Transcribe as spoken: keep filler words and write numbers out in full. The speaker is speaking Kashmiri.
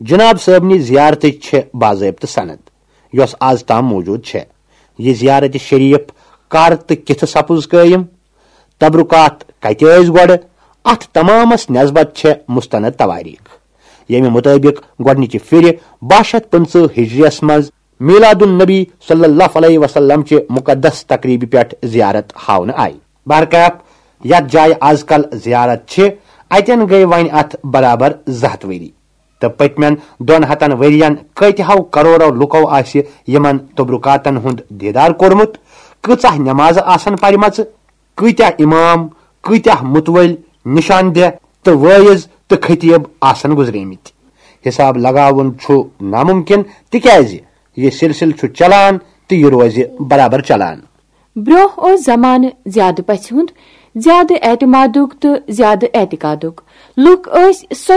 جناب صٲبنہِ زیارتٕچ چھےٚ باضٲبطہٕ سند، یۄس از تام موجود چھےٚ۔ یہِ زیارت شریف کر تہٕ کِتھٕ سپُز قٲیِم؟ تبرکات کتہِ ٲسۍ گۄڈٕ؟ اتھ تمامس نسبت چھےٚ مستند تواریخ، ییٚمہِ مطٲبق گۄڈنِچہِ پھرِ باہ شیتھ پٕنٛژٕہ ہجریس منٛز میلاد النبی صلی اللہ علیہ وسلم چہِ مقدس تقریبہِ پٮ۪ٹھ زیارت ہاونہٕ آیہِ۔ بہرکیف، یتھ جایہِ از کل زیارت چھِ، اتٮ۪ن گٔے وۄنۍ اتھ برابر زٕ ہتھ ؤری۔ تہٕ پٔتمٮ۪ن دۄن ہتن ؤرین کۭتہو کرورو لُکو آسہِ یِمن تبرکاتن ہُنٛد دیدار کوٚرمُت، کۭژاہ نمازٕ آسن پرِمژٕ، کۭتیاہ امام، کۭتیاہ متوٲلۍ، نشان دہ تہٕ وٲعظ تہٕ خطیب آسن گُزریمٕتۍ۔ حساب لگاوُن چھُ ناممکن، تِکیازِ یہِ سلسلہٕ چھُ چلان تہٕ یہِ روزِ برابر چلان۔ برونٛہہ اوس زمانہٕ زیادٕ پژھِ ہُنٛد، زیادٕ اعتمادُک تہٕ زیادٕ اعتقادُک۔ لُکھ ٲسۍ سۄ